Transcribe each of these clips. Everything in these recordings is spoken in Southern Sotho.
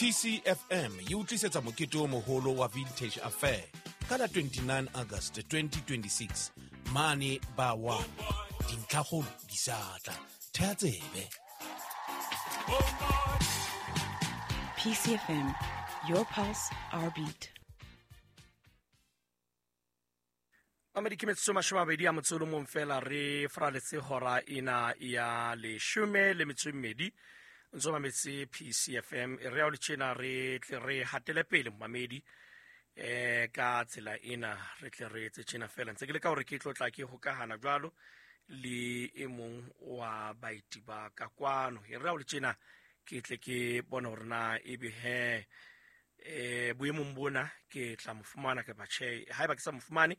PCFM e o tlisetsa mokete o moholo wa Vintage Affair ka la 29 August 2026 mane ba 1. Dintlhakgolo di sa tla. Thea tsebe. PCFM, your pulse, our beat. Mamedi, ke metsotso 20 a motse o le mong fela re faraletse hora ena ya 12. Ntse o mametse PCFM. E re ya o le tjena re tle re hatele pele, momamedi, ka tsela ena re tle re etse tjena fela. Ntse ke le ka hore ke tlo tla ke hokahana jwalo le e mong wa baeti ba ka kwano. E re ya o le tjena ke tle ke bone hore na ebe he boemong bona ke tla mo fumana kapa tjhe. Haeba ke sa mo fumane,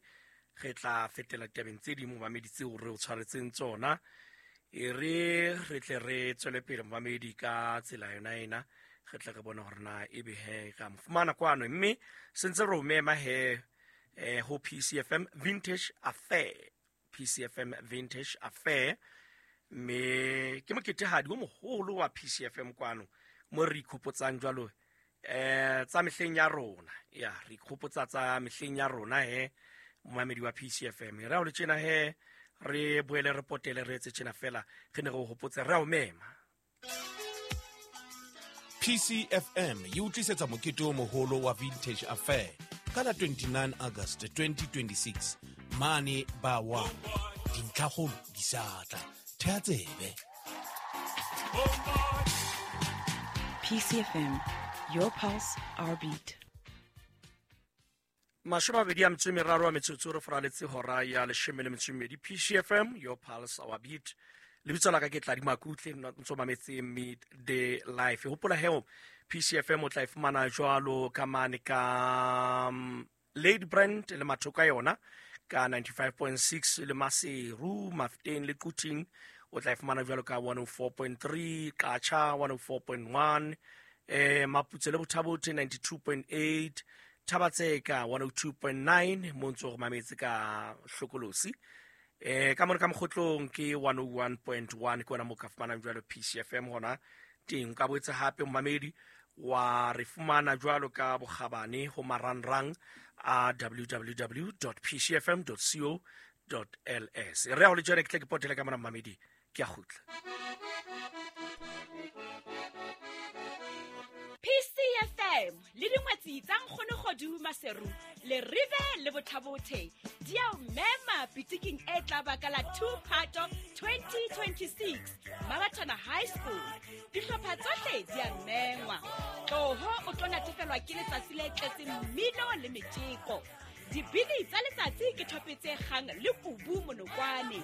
re tla fetela ditabeng tse ding, momamedi, tseo re o tshwaretseng tsona. E re re tle re tswele pele, momamedi, ka tsela yona ena, re tle re bone hore na ebe he ka mo fumana kwano. Mme sentse re o mema he ho PCFM Vintage Affair. PCFM Vintage Affair, mme ke moketehadi o moholo wa PCFM kwano, mo re ikgopotsang jwalo tsa mehleng ya rona. Ya re ikgopotsa tsa mehleng ya rona he, momamedi wa PCFM. Re a o le tjena he, re boele re potele, re etse tjena fela, re ne re o hopotse, re a o mema. PCFM e o tlisetsa mokete o moholo wa Vintage Affair ka la 29 August 2026 mane ba 1. Dintlhakgolo di sa tla. Thea tsebe. PCFM, your pulse, our beat. 23 a metsotso re faraletse hora ya 12. PCFM, your pulse, our beat. Lebitso la ka ke Tladi Makutle, ntso mametse Midday Life. Hopola heo PCFM o tla e fumana jwalo ka mane ka Lady Brand le mathoko a yona ka 95.6, le Maseru, Mafteng le Quthing o tla e fumana jwalo ka 104.3, Qacha 104.1, Maputse le Bothabothe 92.8, Thabatseka 102.9, mo ntse go mametse ka hlokolosi. Ka mona ka Mokgotlong ke 101.1, ke ona mo ka fumanang jwalo PCFM hona teng. Ka boetse hape, momamedi, wa re fumana jwalo ka bokgabane ho marangrang a www.pcfm.co.ls. Re ya ho le jone, ke tle ke potele ka mona, momamedi, ke a kgutla. PCFM le dingwetsi tsa Nkgonogodu Maseru le Rive le Bothabothe di a o mema pitiking e tla ba ka la 2 Phato 2026 Mabathana High School. Dihlopha tsohle di a mengwa. Tloho o tlo natefelwa ke letsatsi le tletseng mmino le metjeko. Dibini tsa letsatsi ke thope tse kgang le kubu monokwane.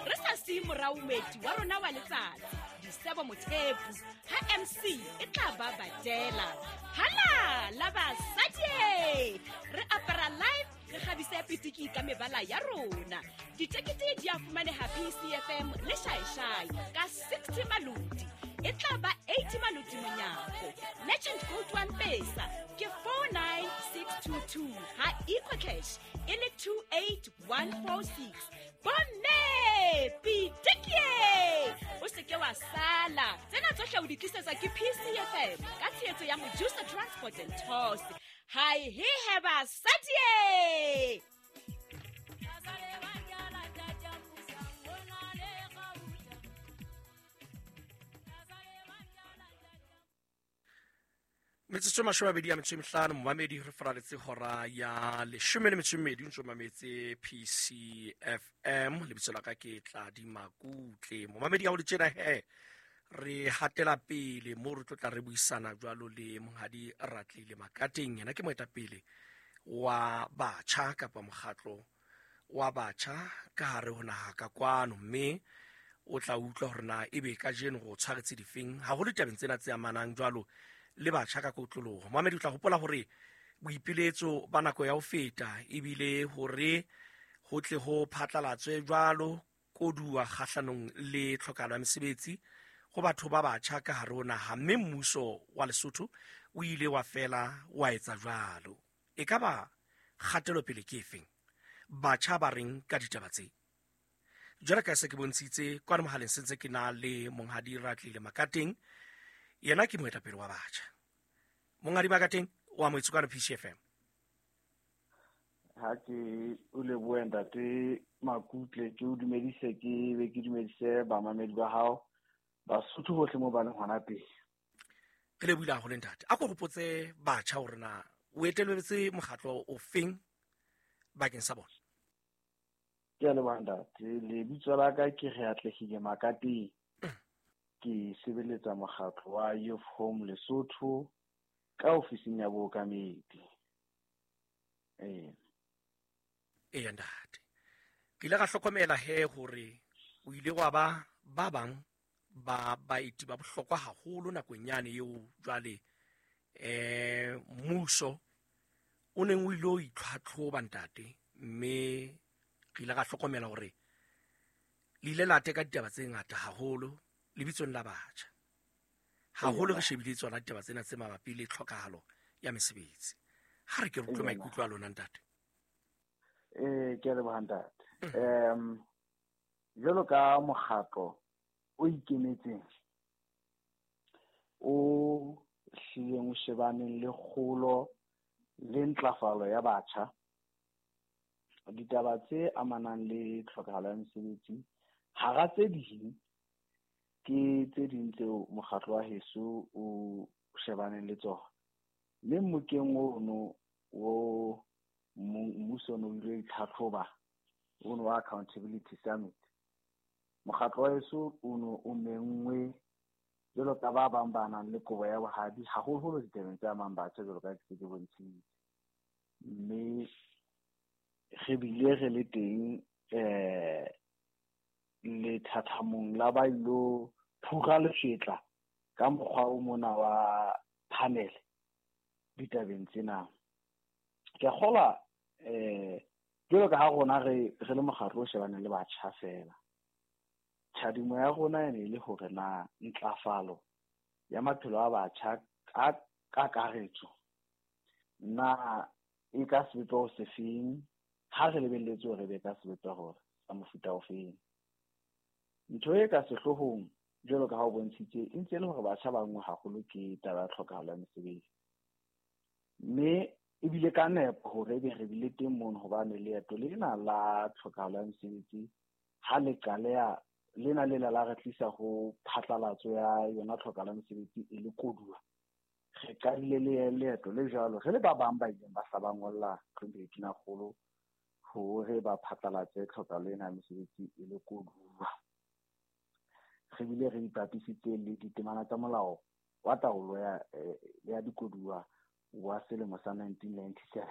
Re sa siye morao moeti wa rona wa letsatsi, Disebo Mothepu, ha MC e tla ba badela. Hala la basadi! Re apara live, re kgabise pitiki ka mebala ya rona. Ditekete di a fumaneha PCFM le Shaeshai ka 60 maloti. E tla ba 80 maloti monyako. Legend Gold One Pesa ke 49622, ha EcoCash e le 28146. Bomme, pitikie! O se ke wa sala. Tsena tsohle o di tlisetswa ke PCFM ka tshehetso ya Mojusa Transport and Tours. Hai he he basadi! Metsotso 25, momamedi, re faraletse hora ya 12, ntse o mametse PCFM. Lebitso la ka ke Tladi Makutle. Momamedi, ya ho le tjena he re hatela pele mo re tlo tla re buisana jwalo le monghadi Ratlile Makateng. Yena ke moetapele wa batjha kapa mokgatlo wa batjha ka hare ho naha ka kwano, mme o tla utlwa hore na ebe kajeno go tshwaretse difeng haholo ditabeng tsena tse amanang jwalo le batjha ka kotloloho. Momamedi, o tla hopola hore boipiletso ba nako ya ho feta ebile hore ho tle ho phatlalatswe jwalo koduwa kgahlanong le tlhokahalo ya mesebetsi ho batho ba batjha ka hare ho naha, mme mmuso wa Lesotho o ile wa fela wa etsa jwalo. E ka ba kgatelopele ke efeng? Batjha ba reng ka ditaba tse? Jwale ka se ke bontshitse kwano mohaleng, sentse ke na le monghadi Ratlile Makateng, yena ke moetapele wa batjha. Monghadi Makateng o amohetswe kwano PCFM. Ha ke o lebohe ntate Makutle, ke o dumedise, ke be ke dumedise bamamedi ba hao Basotho bohle mo ba leng hona teng. Re lebohile haholo ntate. A ko hopotse batjha hore na o eteletse mokgatlo o feng bakeng sa bona. Ke a leboha ntate. Lebitso la ka ke Reatlehile Makateng. Ke sebeletsa mokgatlo wa Youth Home Lesotho ka ofising ya bookamedi. Eya ntate. Ke ile ka hlokomela he hore o ile wa ba ba bang ba baeti ba bohlokwa haholo nakong yane eo jwale mmuso o neng o ile o itlhwatlhoba ntate, mme re ile ra hlokomela hore le ile la teka ditaba tse ngata haholo lebitsong la batjha. Haholo re shebile tsona ditaba tsena tse mabapi le tlhokahalo ya mesebetsi. Ha re ke re utlwe maikutlo a lona ntate. Ke a leboha ntate. Jwalo ka mokgatlo o ikemetseng o hlileng o shebaneng le kgolo le ntlafalo ya batjha, ditaba tse amanang le tlhokahalo ya mesebetsi hara tse ding ke tse ding tseo mokgatlo wa heso o shebaneng le tsona. Mme mmokeng ono o mmuso ono o ile itlhatlhoba ono wa Accountability Summit, mokgatlo wa heso ono o menngwe jwalo ka ba bang ba nang le kobo ya bohadi haholoholo ditabeng tse amang batjha jwalo ka ke se ke bontshitse. Mme re bile re le teng lethathamong la ba ilo phura lefetla ka mokgwa o mona wa panel ditabeng tsena. Ke a kgolwa jwalo ka ha rona re le mokgatlo o shebaneng le batjha fela, tjhadimo ya rona e ne e le hore na ntlafalo ya maphelo a batjha ka kakaretso na e ka sebopeho sefeng, ha re lebelletse hore be ka sebopeho sa mofuta ofeng. Ntho e ka sehloohong jwalo ka ha o bontshitse e ntse e le hore batjha ba nngwe haholo ke taba ya tlhokahalo ya mesebetsi. Mme ebile ka nepo hore ebe re bile teng mono, hobane leeto lena la tlhokahalo ya mesebetsi ha le qaleha lena lela la re tlisa ho phatlalatso ya yona tlhokahalo ya mesebetsi e le koduwa. Re qadile le leeto le jwalo re le ba bang ba ileng ba hla ba ngolla Tonakgolo hore ba phatlalatse tlhokahalo ena ya mesebetsi e le koduwa. Re bile re ipapisitse le ditemana tsa molao wa taolo ya dikoduwa wa selemo sa 1997.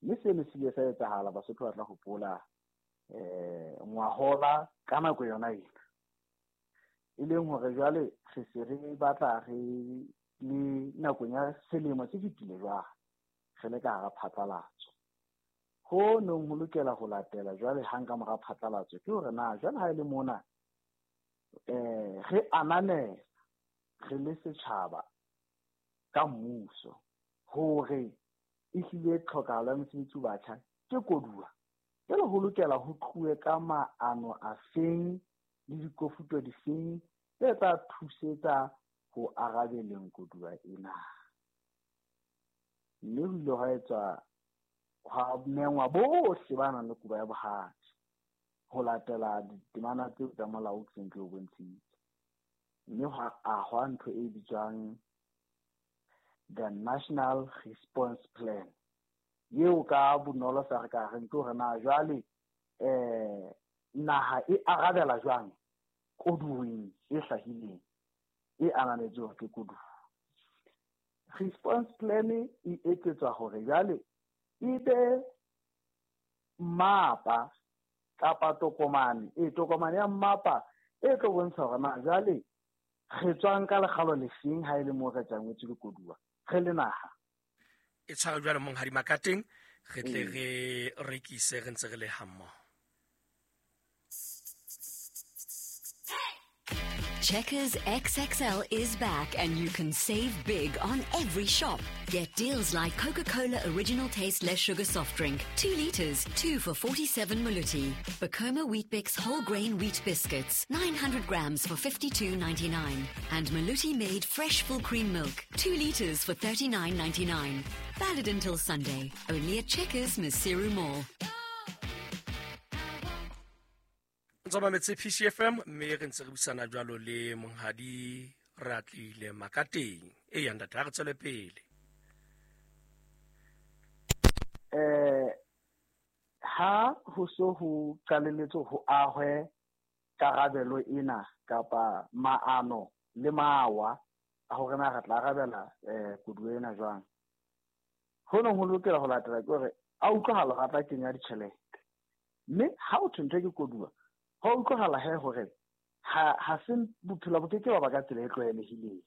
Mme seno se ile sa etsahala, Basotho ba tla hopola ngwahola ka nako yona ena, e leng hore jwale re se re batla re le nakong ya selemo se fetile jwale re le ka hara phatlalatso. Ho neng ho lokela ho latela jwale hang ka mora phatlalatso ke hore na jwale ha e le mona re ananela re le setjhaba ka mmuso hore ehlile tlhokahalo ya mesebetsi ho batjha ke koduwa. Jwale ho lokela ho tluwe ka maano a feng le dikofuto difeng tse tla thusetsa ho arabeleng koduwa ena. Mme ho ile hwa etswa hwa mengwa bohle ba nang le kobo ya bohadi ho latela ditemana tseo tsa molao ke seng ke o bontshitse. Mme hwa ahwa ntho e bitswang the National Response Plan, eo ka bonolo sa re ka reng ke hore na jwale naha e arabela jwang koduweng e hlahileng e ananetswe hore ke koduwa. Response plan e etsetswa hore jwale e be mmapa kapa tokomane, tokomane ya mmapa e tlo bontsha hore na jwale re tswang ka lekgalo lefeng ha e le moo re tjangwetswe ke koduwa re le naha. E tshware jwalo Monghadi Makateng, re tle re rekise re ntse re le hammoho. Checkers XXL is back and you can save big on every shop. Get deals like Coca-Cola Original Taste Less Sugar Soft Drink, 2 liters, 2 for 47 Maluti. Bacoma Weet-Bix Whole Grain Wheat Biscuits, 900 grams for 52.99. And Maluti Made Fresh Full Cream Milk, 2 liters for 39.99. Valid until Sunday, only at Checkers Maseru Mall. Ntse mametse PCFM mme re ntse re buisana jwalo le monghadi Reatile Makateng. E ya ntate, ha re tswele pele. Ha ho so ho qaleletse ho ahwe karabelo ena kapa maano le mawa a hore na re tla arabela koduwa ena jwang. Ho neng ho lokela ho latela ke hore a utlwahala hore a tla kenya ditjhelete. Mme ha o thwe ntho ke koduwa, ho utlwahala he hore ha se bophelo bo keke ba ba ka tsela e tlwaelehileng.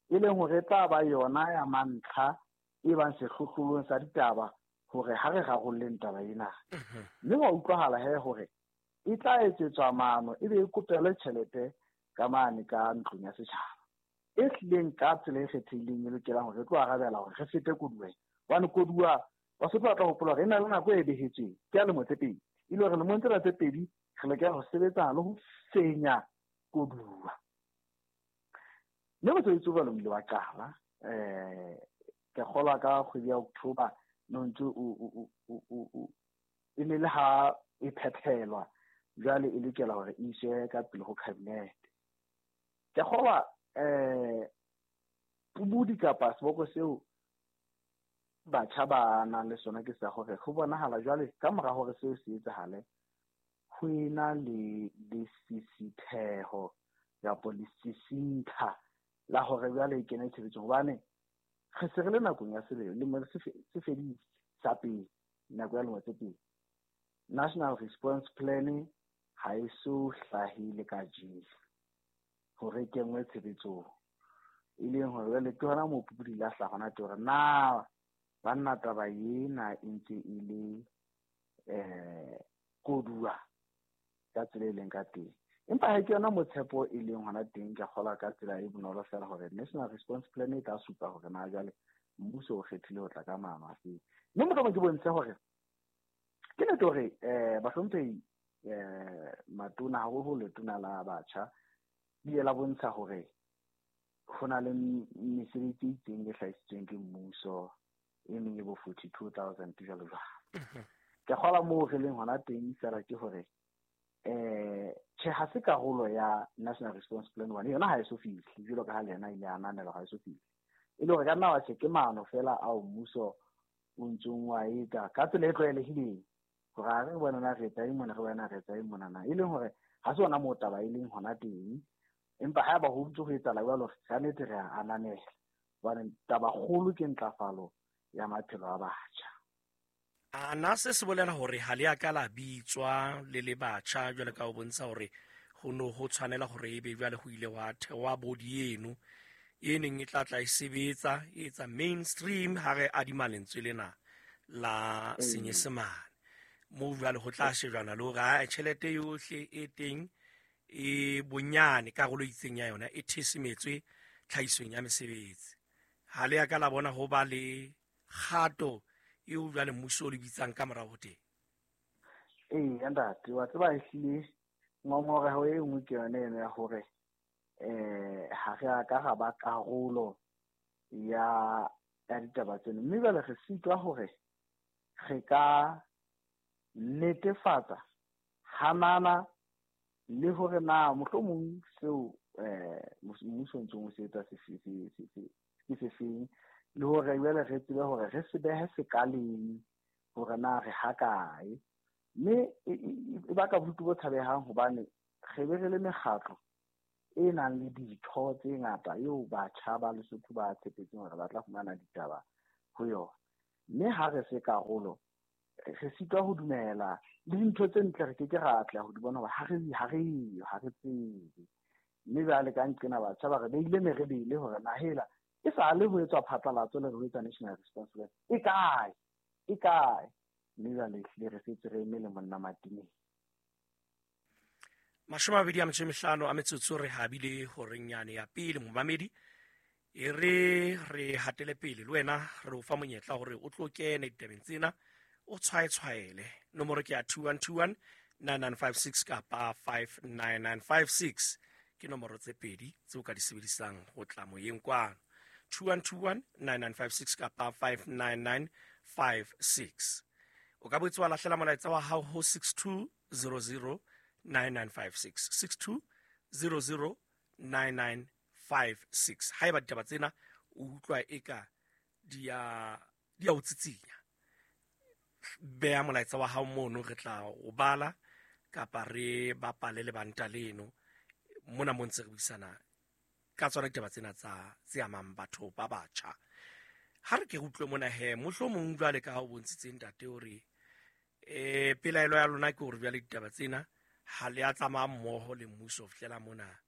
E leng hore e tla ba yona ya mantlha e bang sehlohlolong sa ditaba hore ha re rarolleng taba ena. Mme wa utlwahala he hore e tla etsetswa maano ebe e kopelwe tjhelete ka mane ka ntlong ya setjhaba. E hlileng ka tsela e kgethehileng e lokelang hore re tlo arabela hore re fete koduweng. Hobane koduwa Basotho ba tla hopola hore e na le nako e behetsweng ke ya lemo tse pedi. E le hore lemong tsena tse pedi re lokela ho sebetsana le ho fenya koduwa. Mme mosebetsi o jwalo o ile wa qala ke kgolwa ka kgwedi ya October no ntse o e ne le ha e phethelwa jwale e lokela hore e iswe ka pele ho cabinet. Ke kgolwa pubudi kapa seboko seo batjha ba nang le sona ke sa hore ho bonahala jwale ka mora hore seo se etsahale ho ena le lesisitheho kapa lesisintha la hore jwale e kene tshebetsong. Hobane re se re le nakong ya selemo se fedile sa pele, nako ya lemo tse pedi. National Response Plan ha e so hlahile kajeno hore e kenngwe tshebetsong. E leng hore jwale ke hona moo pupudi la hlaha hona teng hore na banna taba ena e ntse e le koduwa ka tsela e leng ka teng. Empa ha ke yona mo tshepo e leng hona teng, ke kgolwa ka tsela e bonolo fela hore National Response Plan e tla supa hore na jwale mmuso o kgethile ho tla ka maano a feng. Mme mohlomong ke bontshe hore ke nnete hore bahlomphehi matona haholo letona la batjha le ile la bontsha hore ho na le mesebetsi e itseng e hlahisitsweng ke mmuso e meng e bo 42,000 jwalo jwalo. Ke kgolwa moo re leng hona teng fela ke hore tjhe ha se karolo ya National Response Plan one, yona ha e so fihle jwalo ka ha le yena ile a ananelwa ha e so fihle. E le hore ka nna wa tjhe ke maano fela ao mmuso o ntsong wa etsa ka tsela e tlwaelehileng hore ha re bona na re etsa eng mona, re bona re etsa eng mona na. E leng hore ha se hona moo taba e leng hona teng. Empa haeba ho ntse ho etsahala jwalo, ka nnete re a ananela hobane taba kgolo ke ntlafalo ya maphelo a batjha. A na se se bolela hore ha le a ka la bitswa le le batjha jwale ka ho bontsha hore ho no ho tshwanela hore ebe jwale ho ile wa thewa body eno e neng e tla tla e sebetsa e etsa mainstream ha re adima lentswe lena la Senyesemane. Moo jwale ho tla shejwana le hore ha tjhelete yohle e teng e bonyane karolo e itseng ya yona e thesemetswe tlhahisong ya mesebetsi. Ha le a ka la bona ho ba le kgato eo jwale mmuso o le bitsang ka morao ho teng? Ee, ntate, wa tseba ehlile ngongoreho e nngwe ke yone eno ya hore ha re a ka ra ba karolo ya ditaba tseno. Mme jwale re sitwa hore re ka netefatsa hanana le hore na mohlomong seo mmuso o ntsong o se etsa se ke se feng, le hore jwale re tsebe hore re se behe sekaleng hore na re hakae. Mme e baka bodutu bo tshabehang hobane re be re le mekgatlo e nang le ditho tse ngata eo batjha ba Lesotho ba tshepetseng hore ba tla fumana ditaba ho yona. Mme ha re se karolo, re sitwa ho dumela le dintho tse ntle re keke ra atleha ho di bona hoba ha re yo, ha re tsebe. Mme jwale ka nqena batjha ba re beile merebele hore na hela e sa le ho etswa phatlalatso le ho etsa National Response Plan e kae, e kae. Mme jwale ehlile re setse re eme le monna matineng. 25 a metsotso re habile horeng yane ya pele momamedi e re re hatele pele le wena re o fa monyetla hore o tlo kene ditabeng tsena o tshwaetshwaele. Nomoro ke ya 2121 9956 kapa 59956 ke nomoro tse pedi tse o ka di sebedisang ho tla moyeng kwano. 2121 9956 kapa 59956. O ka boetse wa lahlela molaetsa wa hao ho 6200 9956 6200 9956. Haeba ditaba tsena o utlwa eka di a o tsitsinya, beha molaetsa wa hao mono, re tla o bala kapa re bapale lebanta leno mona mo ntse re buisana ka tsona ditaba tsena tsa tse amang batho ba batjha. Ha re ke re utlwe mona he, mohlomong jwale ka ha o bontshitse ntate hore pelaelo ya lona ke hore jwale ditaba tsena ha le a tsamaya mmoho le mmuso ho fihlela mona.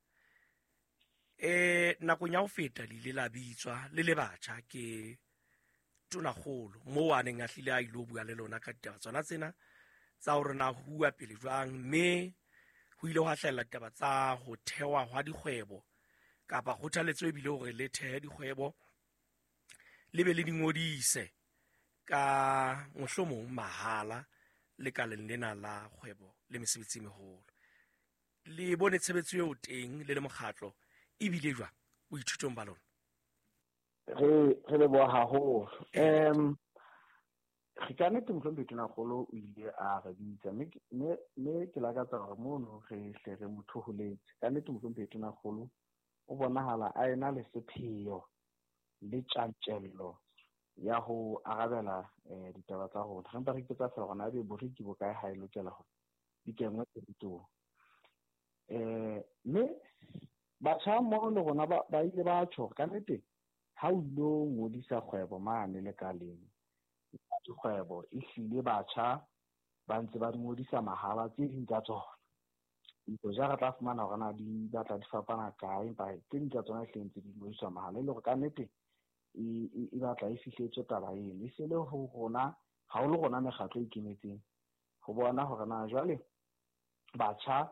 Nakong ya ho feta le ile la bitswa le le batjha ke tonakgolo moo a neng a hlile a ilo bua le lona ka ditaba tsona tsena tsa hore na ho uwa pele jwang, mme ho ile hwa hlahella ditaba tsa ho thewa hwa dikgwebo kapa kgothaletso ebile hore le thehe dikgwebo le be le di ngodise ka mohlomong mahala lekaleng lena la kgwebo le mesebetsi e meholo. Le bone tshebetso eo teng le le mokgatlo ebile jwang boithutong ba lona? Re leboha haholo. Re ka nnete mohlomphehi Tonakgolo o ile a re bitsa, mme ke lakatsa hore mono re hle re mo thoholetse. Ka nnete mohlomphehi Tonakgolo o bonahala a ena le sepheo le tjantjello ya ho arabela ditaba tsa rona. Re mpa re ipotsa feela hore na ebe boriki bo kae ha e lokela hore di kenngwe tshebetsong. Mme batjha mmoho le rona ba ile ba tjho hore ka nnete ha o ilo ngodisa kgwebo mane lekaleng dikgwebo, ehlile batjha ba ntse ba di ngodisa mahala tse ding tsa tsona. Ja re tla fumana hore na di batla di fapana kae, empa tse ding tsa tsona ehlile ntse di ngodiswa mahala, e le hore ka nnete e batla e fihletswe taba eno. E se le ho rona, haholo rona mekgatlo e ikemetseng, ho bona hore na jwale batjha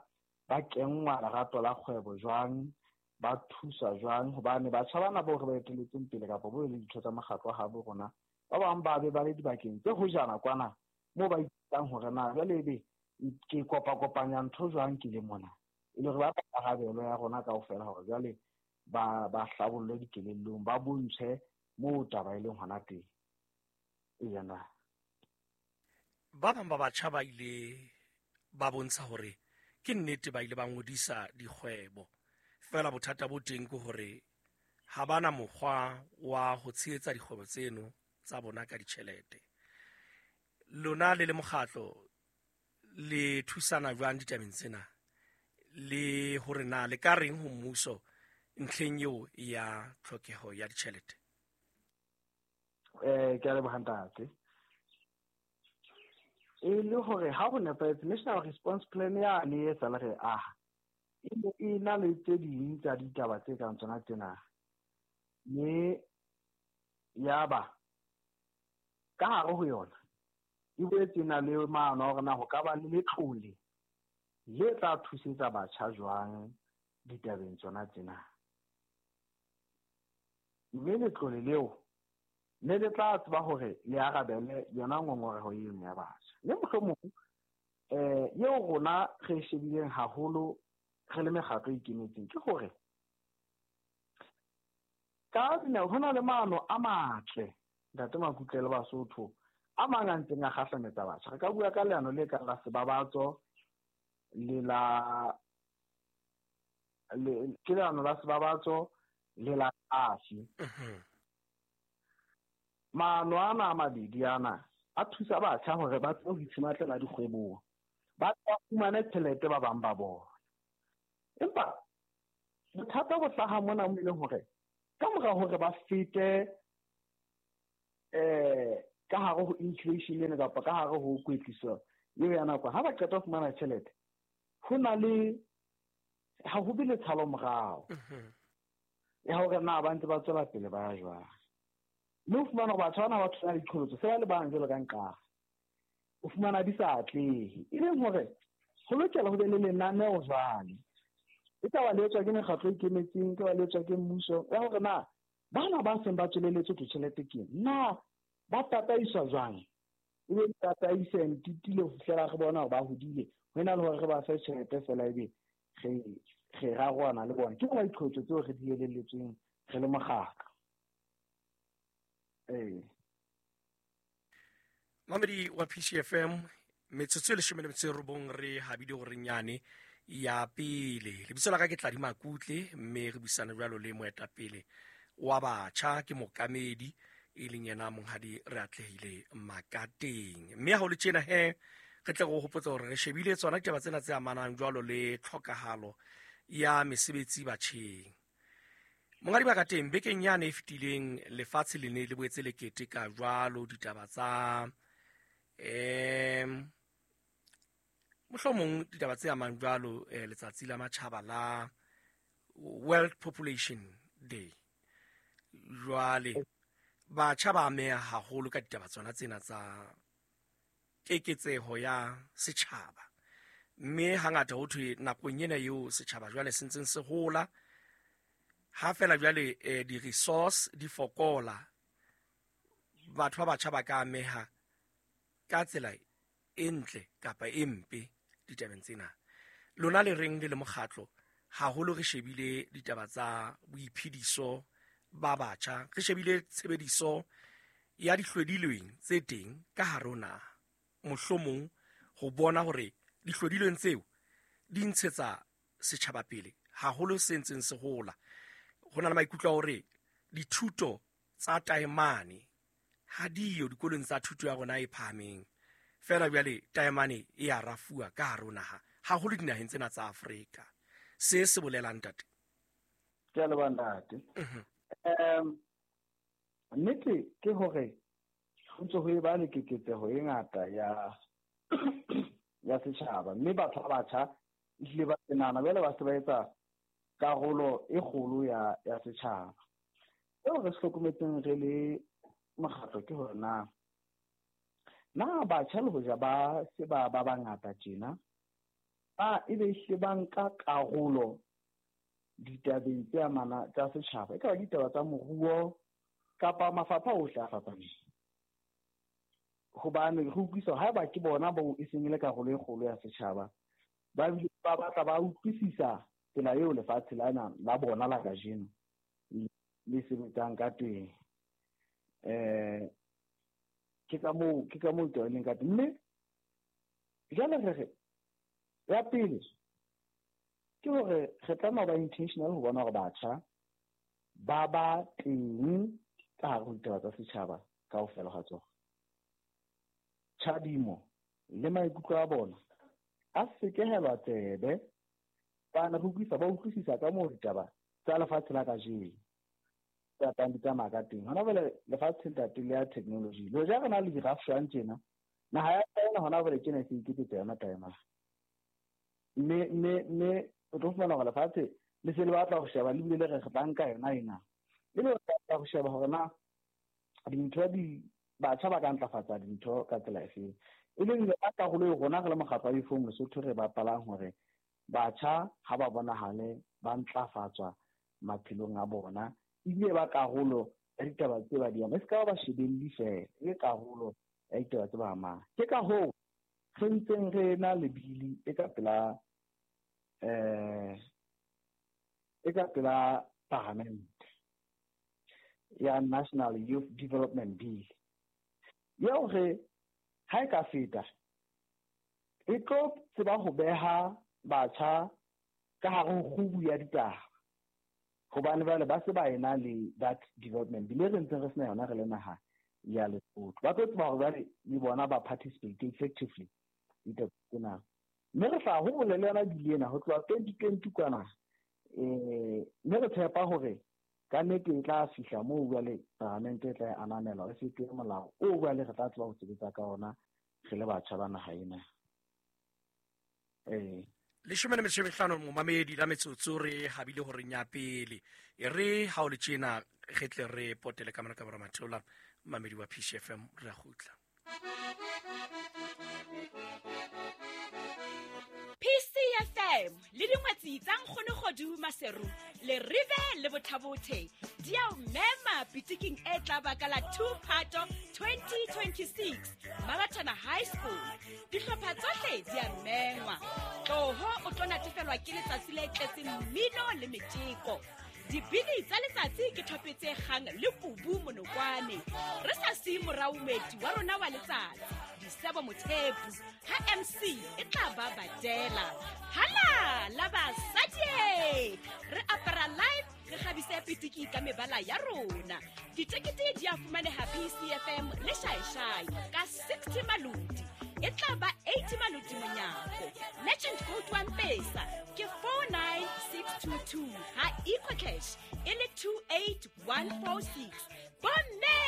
ba kenngwa lerato la kgwebo jwang, ba thuswa jwang, hobane batjha bana bao re ba etelletseng pele kapa bo le ditho tsa mokgatlo wa habo rona, ba bang ba be ba le dibakeng tse hojana kwana moo ba ithutang hore na jwale ebe ke kopa-kopanya ntho jwang ke le mona, e le hore ba karabelo ya rona kaofela hore jwale ba hlabollwe dikelellong, ba bontshwe moo taba e leng hona teng. Eya na. Ba bang ba batjha ba ile ba bontsha hore ke nnete ba ile ba ngodisa dikgwebo, fela bothata bo teng ke hore ha bana mokgwa wa ho tshehetsa dikgwebo tseno tsa bona ka ditjhelete. Lona le le mokgatlo le thusana jwang ditabeng tsena, le hore na le ka reng ho mmuso ntlheng eo ya tlhokeho ya ditjhelete? Ke a leboha ntate. E le hore ha ho nepahetse National Response Plan yane e sale re aha, e na le tse ding tsa ditaba tse kang tsona tsena, mme yaba ka hare ho yona e boetse e na le maano a hore na ho ka ba le letlole le tla thusetsa batjha jwang ditabeng tsona tsena. Mme letlole leo ne le tla tseba hore le arabele yona ngongoreho eno ya batjha. Mme mohlomong eo rona re shebileng haholo re le mekgatlo e ikemetseng ke hore ka dinako ho na le maano a matle ntate Makutle le Basotho a mang a ntseng a kgahlametsa batjha. Re ka bua ka leano le kang la Sebabatso le la ke leano la Sebabatso le la Afi. Maano ana a mabedi ana a thusa batjha hore ba tsebe ho itshematlela dikgwebong, ba fumane tjhelete ba bang ba bona. Empa bothata bo hlaha mona mo e leng hore ka mora hore ba fete ka hare ho inflation ena kapa ka hare ho kwetliso eo ya nako, ha ba qeta ho fumana tjhelete, ho na le ha ho be le tshalo morao ya hore na ba ntse ba tswela pele ba ya jwang. Mme o fumana hore batho bana ba thola diqholotso se ba le bang jwalo ka nqara, o fumana di sa atlehe, e leng hore Ho lokela ho be le lenaneo jwale. E ka ba le etswa ke mekgatlo e ikemetseng, e ka ba le etswa ke mmuso, ya hore na bana ba seng ba tsweleletswe ke tjhelete ke eng? Na ba tataiswa jwang? E be tataise ntitile ho fihlela re bona hore ba hodile, ho ena le hore re ba fe tjhelete feela ebe re raroana le bona. Ke tsona diqholotso tseo re di elelletsweng re le mokgatlo. Ee. Mamedi wa PCFM, metsotso e 19 re habile gore nyane ya pele. Lebitso la ka ke Tladi Makutle, mme re buisana jwalo le moetapele wa batjha ke mokamedi e leng yena monghadi re atlehile Makateng. Mme ha ho le tjena he, re tle re o hopotse hore re shebile tsona ditaba tsena tse amanang jwalo le tlhokahalo ya mesebetsi batjheng. Monghadi Makateng, bekeng yane e fetileng lefatshe le ne le boetse le keteka jwalo ditaba tsa mohlomong ditaba tse amang jwalo letsatsi la matjhaba la World Population Day. Jwale batjha ba ameha haholo ka ditaba tsona tsena tsa keketseho ya setjhaba, mme hangata ho thwe nakong ena eo setjhaba jwale se ntseng se hola, ha fela jwale di-resource di fokola, batho ba batjha ba ka ameha ka tsela e ntle kapa e mpe ditabeng tsena. Lona le reng le le mokgatlo, haholo re shebile ditaba tsa boiphediso ba batjha, re shebile tshebediso ya dihlwedilweng tse teng ka hare ho naha, mohlomong ho bona hore dihlwedilweng tseo di ntshetsa setjhaba pele haholo se ntseng se hola. Ho na le maikutlo a hore dithuto tsa taemane ha diyo dikolong tsa thuto ya rona e phahameng, fela jwale taemane e a rafuwa ka hare ho naha, haholo dinaheng tsena tsa Afrika. Se se bolelang, ntate? Ke a leboha, ntate. Nnete ke hore ho ntse ho eba le keketseho e ngata ya setjhaba, mme batho ba batjha ehlile ba nahana jwale ba se ba etsa karolo e kgolo ya setjhaba. Seo re se hlokometseng re le mokgatlo ke hore na batjha le hoja ba se ba ba bangata tjena, ba ebe ehlile ba nka karolo ditabeng tse amana tsa setjhaba, e ka ba ditaba tsa moruo kapa mafapha ohle a fapaneng. Hobane re utlwisa haeba ke bona bao e seng e le karolo e kgolo ya setjhaba, ba bile ba batla ba utlwisisa tsela eo lefatshe lena la bona la kajeno le sebetsang ka teng. Ke ka moo taba e leng ka teng. Mme jwale re re ya pele ke hore re tlameha ho ba intentional ho bona hore batjha ba ba teng ka hare ho ditaba tsa setjhaba kaofela ha tsona. Tjhadimo le maikutlo a bona a sekehelwa tsebe, bana re utlwisa ba utlwisisa ka moo ditaba tsa lefatshe la kajeno tsa tlang di tsamaya ka teng. Hona jwale lefatshe ntate le ya technology, le hoja re na le di-rafshwang tjena, naha ya China hona jwale tjena e se iketsetsa yona taemane. Mme o tlo fumana hore lefatshe le se le batla ho sheba, le bile le re re tla nka yona ena. E le batla ho sheba hore na dintho di batjha ba ka ntlafatsa dintho ka tsela efeng. E leng yona karolo eo rona re le mokgatlo wa Youth Lesotho re bapalang hore batjha ha ba bonahale ba ntlafatswa maphelong a bona, ebile ba karolo ya ditaba tse ba di amang. E se ka ba shebelli feela, e le karolo ya ditaba tse ba amang. Ke ka hoo re ntseng re na le bili e ka pela e ka pela parliament ya National Youth Development Bill, eo re ha e ka feta e tlo tseba ho beha batjha ka hare ho kgubu ya ditaba, hobane jwale ba se ba ena le that development bill e re ntseng re sena yona re le naha ya Lesotho. Ba tlo tseba hore jwale le bona ba participate effectively ditaba tsena. Mme re tla hole le yona bill ena ho tloha 2020 kwana, mme re tshepa hore ka nnete e tla fihla moo jwale paramente e tla e ananela, re fetohe molao o jwale re tla tseba ho sebetsa ka ona re le batjha ba naha ena. 15 momamedi la metsotso re habile hore nya pele. E re ha o le tjena re tle re potele ka mona ka mora matheola mamedi wa PCFM re a kgutla. PCFM le dingwetsi tsa Nkgono Kgodu Maseru le Rive le Bothabothe di a o mema pitiking e tla ba ka la 2 Phato 2026 Mabathana High School. Dihlopha tsohle di a mengwa. Tloho o tlo natefelwa ke letsatsi le tletseng mmino le metjeko. Dibini tsa letsatsi ke thope tse kgang le kubu monokwane. Re sa siye morao moeti wa rona wa letsatsi, Disebo Mothepu, ha MC e tla ba badela. Hala la basadi! Re apara live, re kgabise pitiki ka mebala ya rona. Ditekete di a fumaneha PCFM le Shaeshai ka 60 maloti. E tla ba 80 maloti monyako. Merchant code wa Mpesa ke 49622 ha EcoCash e le 28146. Bomme,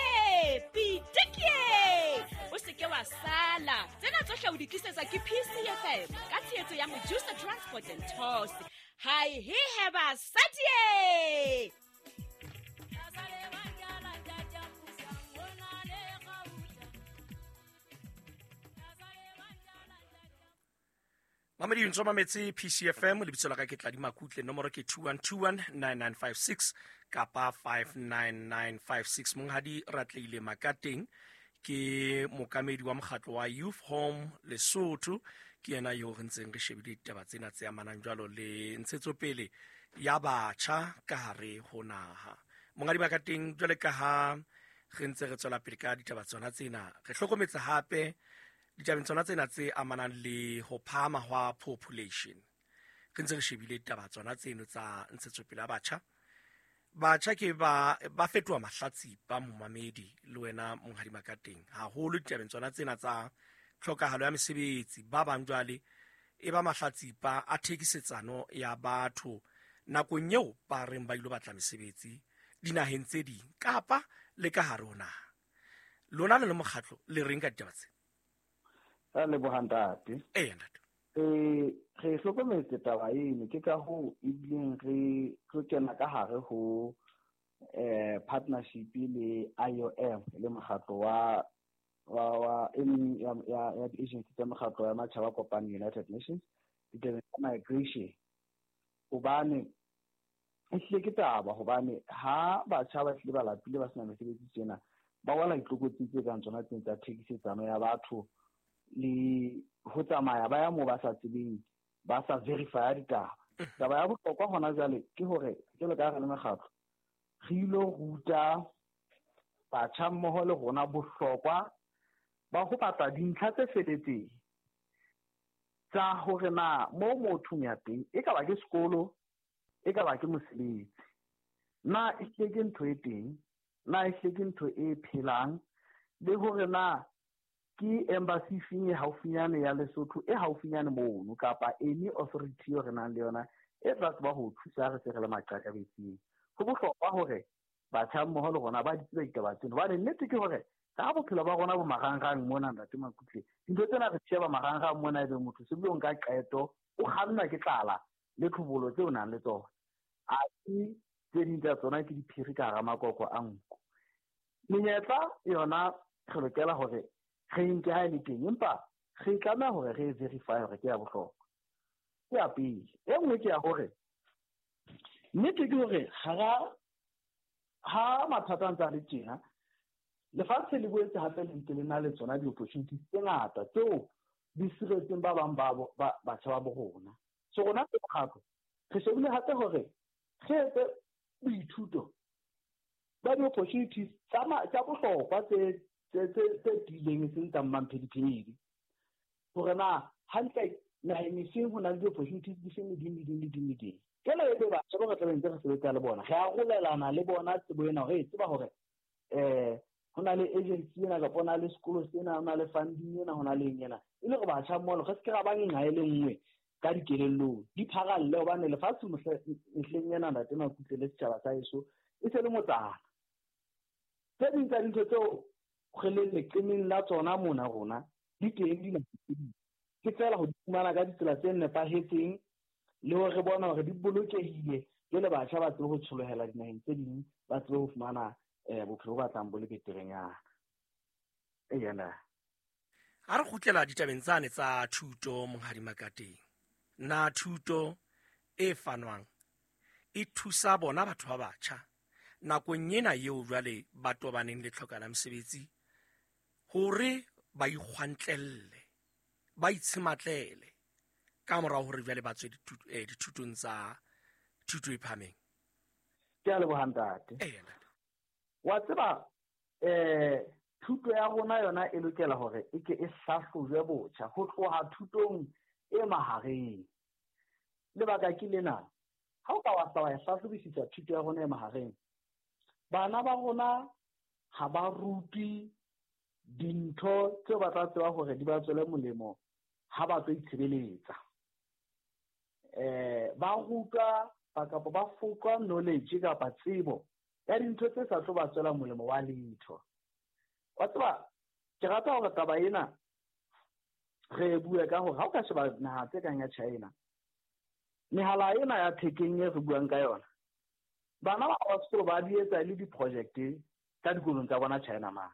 pitikie! O se ke wa sala. Tsena tsohle o di tlisetsa ke PCFM ka tshehetso ya Mojusa Transport and Tours. Hai he he basadi! Mamedi ntso mametse PCFM, lebitso la ka ke Tladi Makutle, nomoro ke 21219956 kapa 59956. Monghadi Ratleile Makateng ke mokamedi wa mokgatlo wa Youth Home Lesotho, ke yena yo re ntseng re shebile ditaba tsena tse amanang jwalo le ntshetsopele ya batjha ka hare ho naha. Monghadi Makateng, jwale ka ha re ntse re tswela pele ka ditaba tsona tsena, re hlokometse hape ditabeng tsona tsena tse amanang le ho phahama hwa population. Re ntse re shebile ditaba tsona tseno tsa ntshetsopele ya batjha. Batjha ke ba fetoha mahlatsipa, momamedi le wena monghadi Makateng, haholo ditabeng tsona tsena tsa tlhokahalo ya mesebetsi. Ba bang jwale e ba mahlatsipa a thekisetsano ya batho nakong eo ba reng ba ilo batla mesebetsi dinaheng tse ding kapa le ka hare ho naha. Lona le le mokgatlo le reng ka ditaba tse? Ra leboha ntate. Ee, ntate. Re hlokometse taba eno, ke ka hoo ebileng re tlo kena ka hare ho partnership le IOM, le mokgatlo wa e meng ya di-agency tsa mokgatlo ya matjhaba a kopaneng, United Nations, ditabeng tsa migration. Hobane e hlile ke taba, hobane ha batjha ba hlile ba lapile ba sena mesebetsi tjena, ba wela ditlokotsi tse kang tsona tsena tsa thekisetsano ya batho le ho tsamaya ba ya moo ba sa tsebeng, ba sa verify ditaba. Taba ya bohlokwa hona jwale ke hore jwalo ka ha re le mekgatlo, re ilo ruta batjha mmoho le rona bohlokwa ba ho batla dintlha tse feletseng tsa hore na moo motho ya teng e ka ba ke sekolo, e ka ba ke mosebetsi, na e hlile ke ntho e teng, na e hlile ke ntho e phelang, le hore na ke embassy feng e haufinyane ya Lesotho e haufinyane mono, kapa any authority eo re nang le yona e tla tseba ho thusa re se re le maqakabetsing. Ho bohlokwa hore batjha mmoho le rona ba di tsebe ditaba tseno, hobane nnete ke hore ka bophelo ba rona bo marangrang mona, ntate Makutle, dintho tsena re sheba marangrang mona, ebe motho se bile o nka qeto, o kgannwa ke tlala le tlhobolo tseo o nang le tsona. Athe tse ding tsa tsona ke diphiri ka hara makoko a nku. Menyetla yona re lokela hore re nke ha e le teng, empa re tlameha hore re verify hore ke ya bohlokwa. Ke ya pele. E nngwe ke ya hore nnete ke hore ha mathata a ntse a le tjena, lefatshe le boetse hape le ntse le na le tsona di-opportunities tse ngata tseo di siretseng ba bang ba batjha ba bo rona. So rona ke mokgatlo, re shebile hape hore re etse boithuto ba di-opportunities tsa bohlokwa tse tiileng, e seng tsa mmamphediphedi, hore na hantle naheng e feng ho na le di-opportunities di feng le ding, le ding, le ding, le ding. Jwale e be batjha ba re tla be ntse re sebetsa le bona, re arolelana le bona tsebo ena hore re tseba hore ho na le agency ena, kapa ho na le sekolo sena, ho na le funding ena, ho na le eng ena, e le hore batjha mmoho re se ke ra ba nqa e le nngwe ka dikelellong, di pharalle, hobane lefatshe mehleng ena, ntate Makutle, le setjhaba sa heso e se le motsana. Tse ding tsa dintho tseo re leng leqemeng la tsona mona rona di teng dinaheng tse ding, ke feela ho di fumana ka ditsela tse nepahetseng le hore re bone hore di bolokehile, jwale batjha ba tsebe ho tsholohela dinaheng tse ding, ba tsebe ho fumana bophelo bo batlang bo le beterenyana. Eya na. Ha re kgutlela ditabeng tsane tsa thuto, Monghadi Makateng, Na thuto e fanwang e thusa bona batho ba batjha nakong ena eo jwale ba tobaneng le tlhoka la mosebetsi hore ba ikgwantlelle, ba itshematlele ka morao hore jwale ba tswe dithutong tsa thuto e phahameng? Ke a leboha ntate. Wa tseba thuto ya rona yona e lokela hore e ke e hlahlojwe botjha ho tloha thutong e mahareng. Lebaka ke lena, ha o ka wa hla wa e hlahlobisisa thuto ya rona e mahareng, bana ba rona ha ba rutwe dintho tseo ba tla tseba hore di ba tswele molemo ha ba tlo itshebeletsa. Ba rutwa kapa ba foqwa knowledge kapa tsebo ya dintho tse sa tlo ba tswela molemo wa letho. Wa tseba, ke rata hore taba ena re bue ka hore ha o ka sheba naha tse kang ya China, mehala ena ya thekeng e re buang ka yona, bana ba ba sekolo ba di etsa le di-project ka dikolong tsa bona China mane.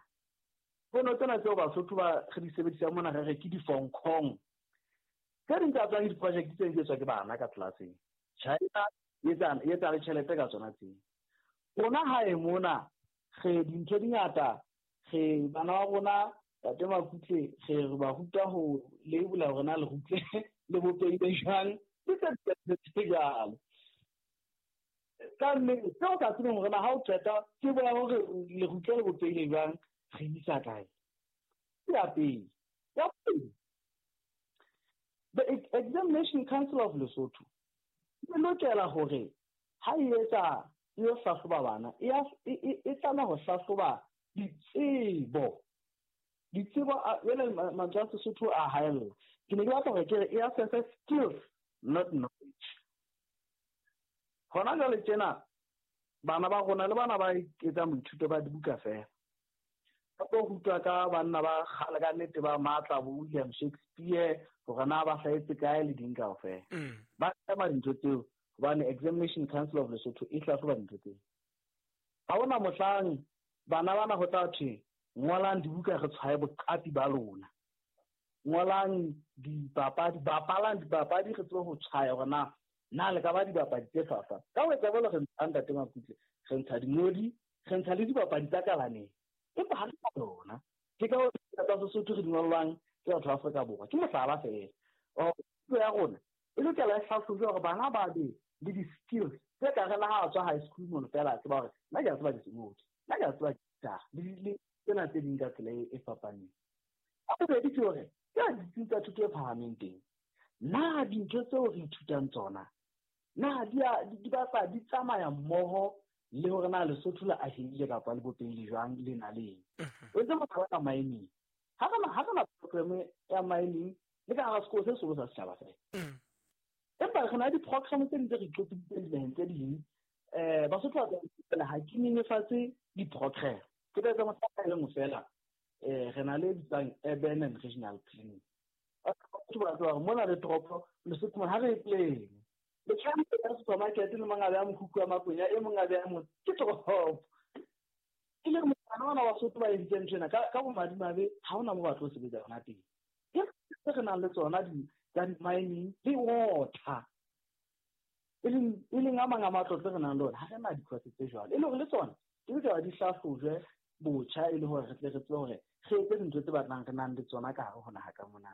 Fono tsena tseo Basotho ba re di sebedisang mona re re ke di-Hong Kong. Tse ding tsa tsona di-project tse di etswa ke bana ka tlelaseng. China e etsa le tjhelete ka tsona tseo. Rona hae mona re dintho di ngata, re bana ba rona Tate Makutle re ba ruta ho labela hore na lerutle le bopehile jwang, le tse jwalo. Ka nnete seo ka tsebeng hore na ha o qeta tsebo ya hore lerutle le bopehile jwang re isa kae. Ke ya pele. Ya pele, the Examination Council of Lesotho e lokela hore ha e etsa e yo hlahloba bana, e tlameha ho hlahloba ditsebo. Ditsebo jwale mantswe a Sesotho a haella. Ke ne ke batla hore ke re e assess skills, not knowledge. Hona jwale tjena bana ba rona le bana ba etsang boithuto ba dibuka feela, ba tlo rutwa ka banna ba kgale ka nnete ba matla bo William Shakespeare hore na ba hlahetse kae le ding kaofela. Ba ema dintho tseo hobane Examination Council of Lesotho e hlahloba dintho tseo. Ha hona mohlang bana bana ho tla thwe ngolang dibuka re tshwaye boqapi ba lona, ngolang dipapadi, bapalang dipapadi re tsebe ho tshwaya hore na le ka ba dibapadi tse hlwahlwa. Ka ho etsa jwalo re ntsha Ntate Makutle, re ntsha dingodi, re ntsha le dibapadi tsa kalaneng, empa ha re na yona. Ke ka hoo tsa Sesotho re di ngollwang ke batho ba Afrika Borwa. Ke mohlala feela. Thuto ya rona e lokela e hlahlojwe hore bana ba be le di-skills tse ka re le ha a tswa high school mono feela a tseba hore nna ke a tseba disengodi, nna ke a tseba guitar le tsena tse ding ka tsela e fapaneng. Ya bobedi ke hore ke ditsing tsa thuto e phahameng teng, na dintho tseo re ithutang tsona na di batla di tsamaya mmoho le hore na Lesotho le ahehile kapa le bopehile jwang le na leng. O entse mohlala ka mining. Ha re na program ya mining le ka hara sekolo se seholo sa setjhaba feela. Empa re na le di-program tse ding tse re iqopiditseng dinaheng tse ding. Basotho ba tsela ha ke nyenyefatse di-program. Ke tla etsa mohlala e le nngwe feela. Re na le bitsang urban and regional planning. Batho ba tseba hore mona le toropo Lesotho mona ha re e plane. Le tshwanetse ya supermarket le mang a beha mokhukhu wa makwenya, e mong a beha motse, ke toropo. E le bana bana ba Basotho ba entseng ntho ena ka bomadimabe ha hona moo ba tlo sebetsa hona teng. Ke tse re nang le tsona tsa di-mining le water. E leng a mang a matlotlo re nang le ona, ha re na di-course tse jwalo. E le hore le tsona di lokela di hlahlojwe botjha e le hore re tle re tsebe hore re etse dintho tse batlang re nang le tsona ka hare ho naha ka mona.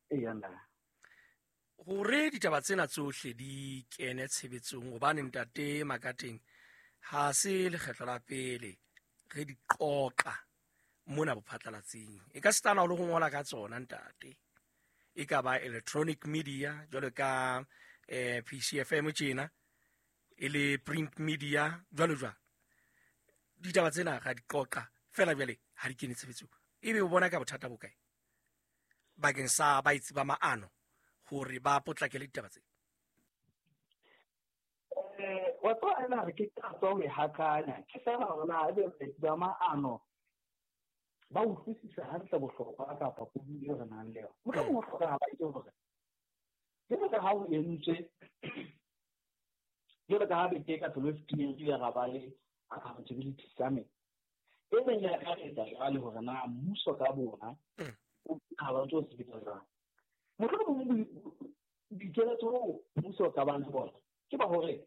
Eya nna. Hore ditaba tsena tsohle di kene tshebetsong, hobane Ntate Makateng ha se lekgetlo la pele re di qoqa mona bophatlalatsing. E ka sitana le ho ngola ka tsona ntate. E ka ba electronic media jwalo ka PCFM tjena, e le print media jwalo jwalo. Ditaba tsena ra di qoqa fela jwale ha di kene tshebetsong. Ebe o bona ka bothata bo kae bakeng sa baetsi ba maano hore ba potlakele ditaba tsena? Wa tseba ena re ke ka tswa ho e hakanya. Ke fela hore na ebe baetsi ba maano ba utlwisisa hantle bohlokwa kapa puo eo re nang le yona. Mohlomong ho hlokahala ke hore jwalo ka ha ho entswe, jwalo ka ha beke ka pelo e fetileng re ile ra ba le accountability summit, e reng ya akaretsa jwale hore na mmuso ka bona o ha ba ntse o sebetsa jwang. Mohlomong Dikeletso bo mmuso o ka bang le bona ke ba hore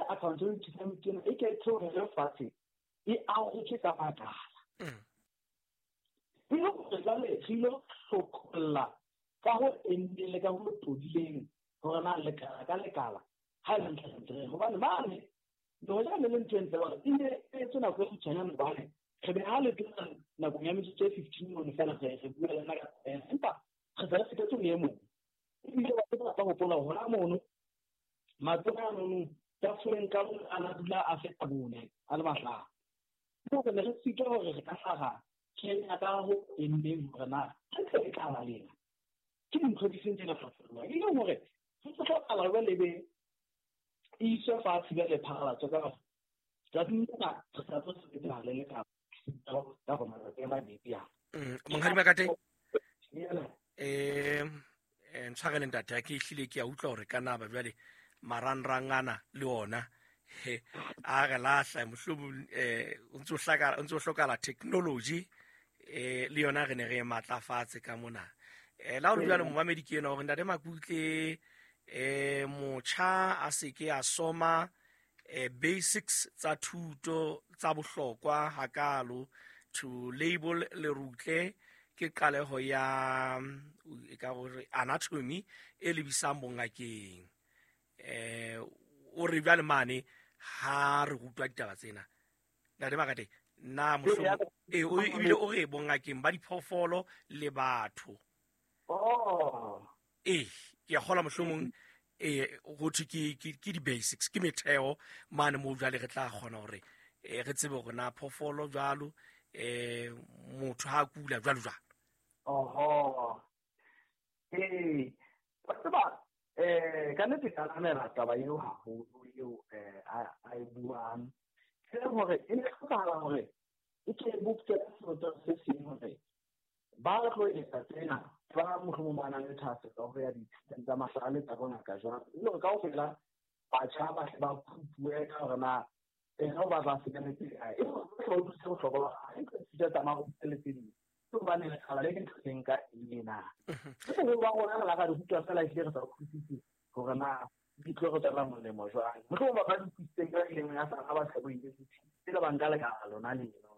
accountability committee ena e ke theohele fatshe, e arotswe ka makala. E le hore jwale re ilo hlopholla ka ho enneng le ka ho tobileng hore na lekala ka lekala ha e le hantle hantle. Hobane mane le hoja ne le ntho e ntle hore e ne e etswe nako e kgutshwanyane, hobane re be ha le tloha nakong ya metsotso e 15 mono feela re bua le yena ka taba ena, empa re se re fetetse ho e mong. Ebile batho ba tla hopola hore hona mono matona a nono tafoleng ka mong a na dula a feta bone a le mahlano. Ke hore ne re sitwa hore re ka hlaha Kenya ka ho enneng hore na hantle e tla ba lena ke dintho di seng tsena hlophollwa, e leng hore ho hlokahala jwale ebe e iswe fatshe jwale phatlalatso ka hore tsatsing lena re sa tlo sebetsana le lekala ka hore matsatsi a mabedi a. Monghadi Makate, ntshwarele ntate, ha ke ehlile ke a utlwa hore ka naba jwale marangrang ana le ona he a re lahla, mohlomong o ntso hlaka, o ntso hlokahala technology le yona re ne re e matlafatse ka mona. La hore jwale momamedi ke ena hore ntate Makutle, motjha a se ke a soma basics tsa thuto tsa bohlokwa hakalo to label lerutle ke qaleho ya e ka hore anatomy e lebisang bongakeng. O re jwale mane ha re rutwa ditaba tsena ntate Makate, na mohlomong o ebile o re bongakeng ba diphoofolo le batho. Ke a kgolwa mohlomong ho thwe ke di-basics, ke metheo mane moo jwale re tla kgona hore re tsebe hore na phoofolo jwalo, motho ha a kula jwalo jwalo. Oho. Wa tseba, ka nnete ke ananela taba eo haholo eo a e buang. Ke hore e ne hlokahala hore e ke boptjwe ka sebopeho se seng hore ba tlo etsa tsena ba mohlomong ba nang le thahasello ho ya dithutong tsa mahlale tsa bongaka jwalo, e le hore kaofela batjha ba hle ba phupuwe ka hore na ena o batla sekametse kae, e le hore bohle ba utlwisise bohlokwa ba ha ntho ithuta tsa maruo le tse ding, ke hobane lekgala le ke ntho e nka eng na. Ke boholo ba rona re la ra di rutwa fela ehlile re sa utlwisise hore na di tlo re tswela molemo jwang. Mohlomong ba ba di utlwisitseng ka ileng ya sa ba sa bo university pele ba nka lekala lona leno.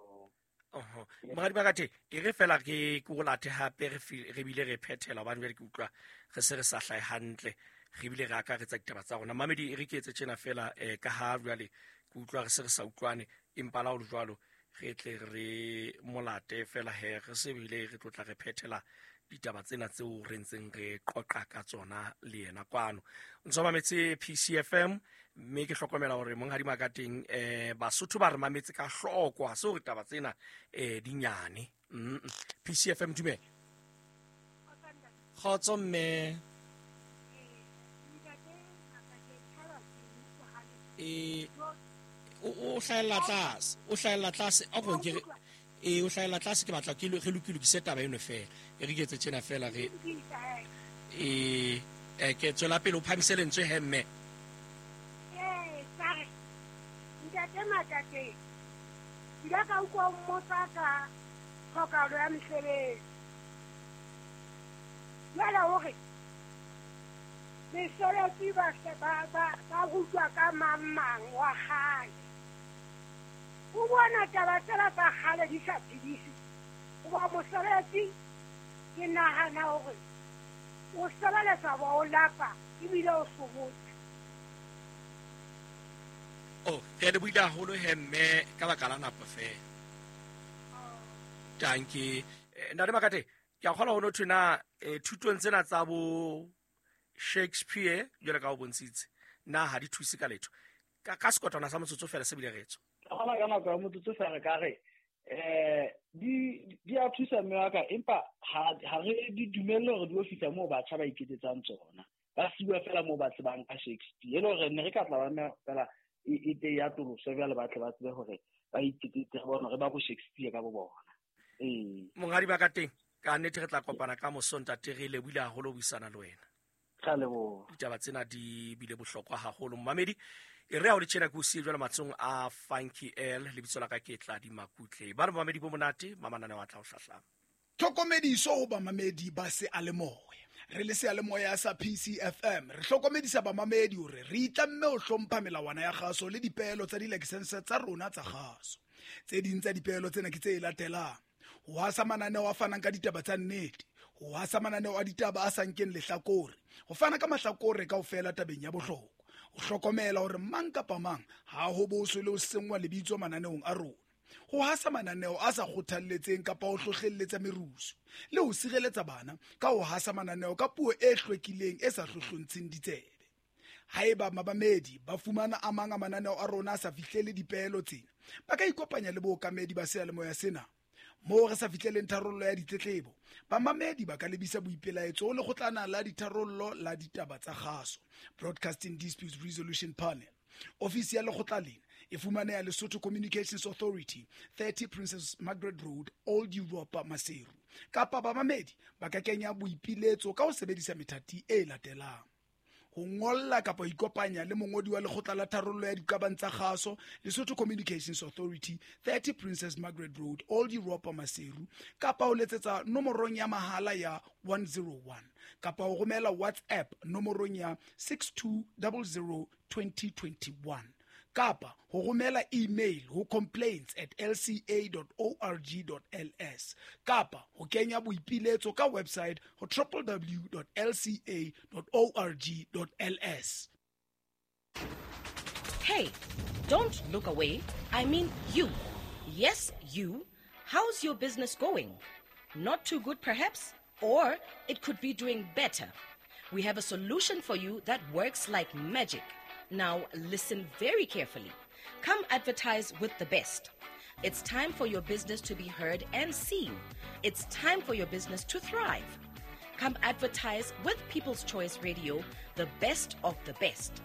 Oho. Moradi Makate, e re fela ke o late hape re bile re phethela hobane jwale ke utlwa re se re sa hlahe hantle, re bile re akaretsa ditaba tsa rona. Mamedi, e re ke etse tjena fela, ka ha jwale ke utlwa re se re sa utlwane, empa la ho le jwalo re tle re molate fela he re se bile re tlotla re phethela ditaba tsena tseo re ntseng re qoqa ka tsona le yena kwano. Ntso mametse PCFM, mme ke hlokomela hore monghadi Makateng, Basotho ba re mametse ka hloko, ha se hore taba tsena di nyane. PCFM, dumela. Kgotso mme. O hlahella tlase, o hlahella tlase, a go ke re o hlahella tlase, ke batla ke re lokise taba eno fela. E re ke etse tjena fela re ke tswela pele o phamise lentswe he mme. Sorry. Ntate Makate, ke ile ka utlwa o mmotsa ka tlhokahalo ya mesebetsi. Jwale hore mesebetsi ba se ba rutwa ka mang mang wa kgale. O bona taba tsena tsa kgale di sa phedise. Hoba mosebetsi ke nahana hore o sebeletsa ba o lapa ebile o sobotse. Oh, re le buile haholo he mme ka baka la nako fela. Tanki. Ntate Makate, ke a kgolwa ho no thwe na thutong tsena tsa bo Shakespeare jwale ka o bontshitse, na ha di thuse ka letho? Ka sekotwana sa motsotso fela se bile re tswa. Ka kgona ka nako ya motsotso fela re ka re di a thusa mme wa ka, empa ha re di dumelle hore di yo fihla moo batjha ba iketsetsang tsona. Ba siwa fela moo ba tsebang ka Shakespeare. E le hore ne re ka tla ba mme fela e te ya atoloswe jwale ba tle ba tsebe hore ba iketsetse re bone hore ba bo Shakespeare ka bo bona. Monghadi ba ka teng, ka nnete re tla kopana ka moso ntate, re lebohile haholo ho buisana le wena. Ka leboha. Ditaba tsena di bile bohlokwa haholo. Momamedi, e re ha o le tjena ke o siye jwale matsohong a Funky L, lebitso la ka ke Tladi Makutle. Ba re momamedi bo monate, mamanane wa tla o hlahlama. Tlhokomediso ho bamamedi ba seyalemoya. Re le seyalemoya sa PCFM re hlokomedisa bamamedi hore re itlamme ho hlompha melawana ya kgaso le dipeelo tsa dilakesense tsa rona tsa kgaso. Tse ding tsa dipeelo tsena ke tse latelang: ho hasa mananeo a fanang ka ditaba tsa nnete, ho hasa mananeo a ditaba a sa nkeng lehlakore, ho fana ka mahlakore kaofela tabeng ya bohlokwa, ho hlokomela hore mang kapa mang ha ho boswe le ho senngwa lebitso mananeong a rona, ho hasa mananeo a sa kgothalletseng kapa ho hlohlelletsa merusu, le ho sireletsa bana ka ho hasa mananeo ka puo e hlwekileng e sa hlohlontsheng ditsebe. Haeba mamamedi ba fumana a mang a mananeo a rona a sa fihlele dipeelo tsena, ba ka ikopanya le bookamedi ba seyalemoya sena. Moo re sa fihleleng tharollo ya ditletlebo, bamamedi ba ka lebisa boipelaetso ho lekgotlana la ditharollo la ditaba tsa kgaso, Broadcasting Disputes Resolution Panel. Ofisi ya lekgotla lena e fumaneha Lesotho Communications Authority, 30 Princess Margaret Road, Old Europa, Maseru. Kapa bamamedi ba ka kenya boipiletso ka ho sebedisa methati e latelang: ho ngolla kapa ho ikopanya le mongodi wa lekgotla la tharollo ya diqabang tsa kgaso, Lesotho Communications Authority, 30 Princess Margaret Road, Old Europa, Maseru, kapa ho letsetsa nomorong ya mahala ya 101, kapa ho romela WhatsApp nomorong ya 6200 2021, kapa ho romela email ho complaints@lca.org.ls, kapa ho kenya boipiletso ka website ho www.lca.org.ls. Hey, don't look away. I mean you. Yes, you. How's your business going? Not too good, perhaps? Or it could be doing better. We have a solution for you that works like magic. Now, listen very carefully. Come advertise with the best. It's time for your business to be heard and seen. It's time for your business to thrive. Come advertise with People's Choice Radio, the best of the best.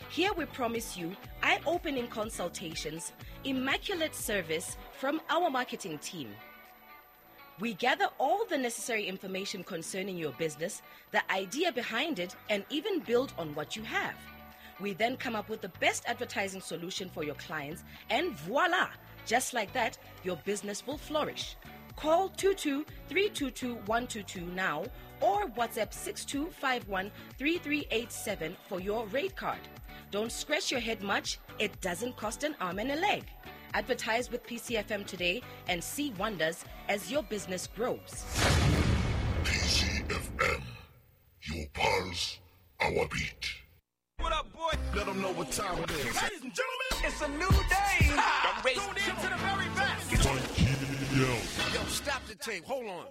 Here we promise you eye opening consultations, immaculate service from our marketing team. We gather all the necessary information concerning your business, the idea behind it, and even build on what you have. We then come up with the best advertising solution for your clients, and voila! Just like that, your business will flourish. Call 22 322 122 now or WhatsApp 6251 3387 for your rate card. Don't scratch your head much, it doesn't cost an arm and a leg. Advertise with PCFM today and see wonders as your business grows. PCFM, your pulse, our beat. What up, boy? Let them know what time it is. Ladies and gentlemen, it's a new day. I'm ready. Tune in to the very best. Yo, stop the tape. Hold on.